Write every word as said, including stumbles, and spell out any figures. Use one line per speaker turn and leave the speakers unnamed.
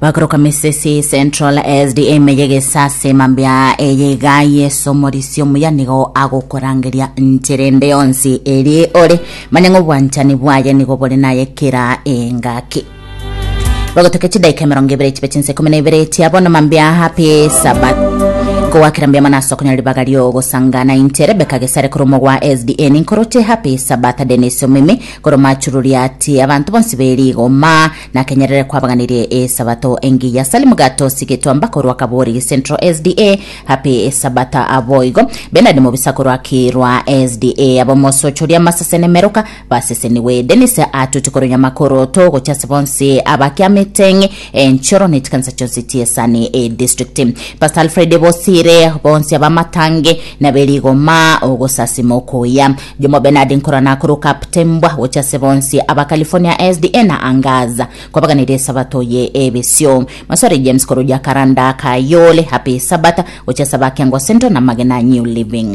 Bakoroka Misesi Central S D A meyegesase mambia eyega Yeso morisi omuya nigo agokorangeria ncherende yonsi eri ore manya ng'obwanchani bwaye nigo bore naye kera engaki. Bagotoka chidaika emerongo ebere chibe chinsa ikomi na ibere chia bono mambia. Happy Sabbath. Kowakera mbia mana ase okonyora ribaga riogosangana inche Rebeka Gesare koromo gwa S D A ninkoroche. Happy Sabbath. Denis Omimi koroma achururia ati abantu bonsi berigoma nakenyerere kwabaganirie esabato engiya. Salimu Gato Sigetwamba korwa Kabori Central S D A, happy Sabbath. Aboigo Benard Mobisa korwa Kirwa S D A, abomosochoria masasene meroka baseseniwe. Denis atuti korwa Nyamakoroto gochase bonsi abakiameteng enchoro nechikanisa chionsi chiesani e district. Pastor Alfred Bosire bonsi abamatange naberigoma ogosasima okoya. Jomo Benard nkorana korwa Kaptembwa gochase bonsi aba California S D A na Angaza kwabaganire sabato ye ebesio. Maswari James korwa Jakaranda Kayole, happy Sabbath gochasa bakiangwa Central na Magena New Living.